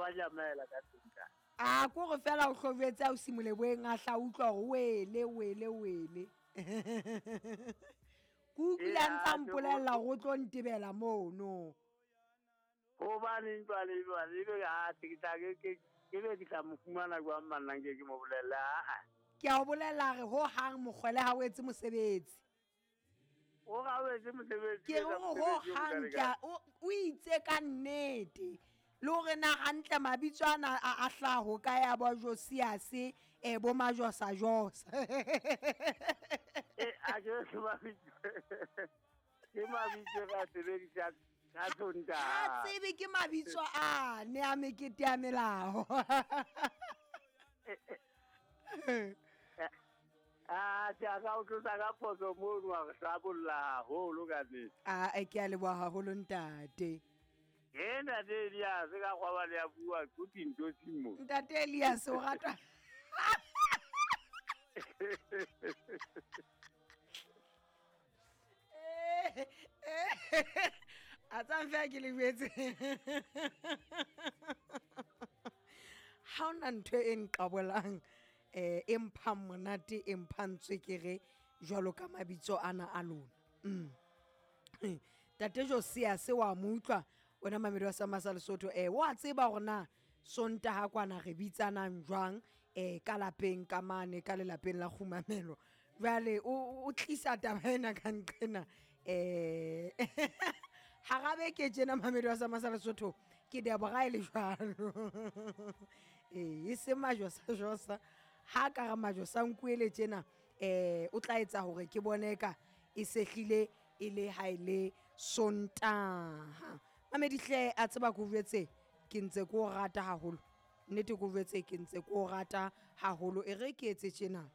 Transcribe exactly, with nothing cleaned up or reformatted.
ba nyamela ka Sontaha. A ko re fela o hlojetse a o simoleboeng a hla utlwa hore wele wele wele. Ke utlwile a ntsa mpolella hore o tlo ntebela mono. Hobaneng jwale jwale ebe ha ke tla ke ke ke be ke tla mo fumana jwang manna nke ke mo bolelle a. Ke a o bolella re ho hang mokgwele ha o etse mosebetsi. O ga o etse mosebetsi. Ke re ho hang ke o itse ka nnete. Le hore na hantle mabitso ana a a hlaho ka ya bo Josias e bo Majosa Josa. Eh a ke se mabitso. Ke mabitso ka sebedisa ka Sontaha. Ha tsebe ke mabitso a ne a mekete ya melao. Ah, ke a ka o tlosa ka phoso mono wa re hlabolla haholo ka nnete. Ah, ke a leboha haholo ntate. Ke ntate Elias ka kgwaba le ya bua ko dintho mo. Ntate Elias o rata. A tsang fa ke le jwetse. Ha ona ntho e nqabolang eh e mphang monate e mphang tswekere jwalo ka mabitso ana a lona. Mm. Tate Josias wa mo utlwa wena mamedi wa Samasa Lesotho eh wa tseba hore na Sontaha kwana re bitsanang jwang eh ka lapeng ka mane ka lelapeng la kgumamelo. Jwale o tlisa taba ena ka nqena eh hara beke tjena mamedi wa Samasa Lesotho ke Deborah e le jwalo. Eh e se Majosa Josa ha ka re Majosa nkuele tjena eh o tla etsa hore ke bone ka e sehlile e le ha ile Sontaha. Mamedi hle a tseba ko jwetse ke ntse ko rata haholo. Nnete ko jwetse ke ntse ko rata haholo e re ke etse tjena.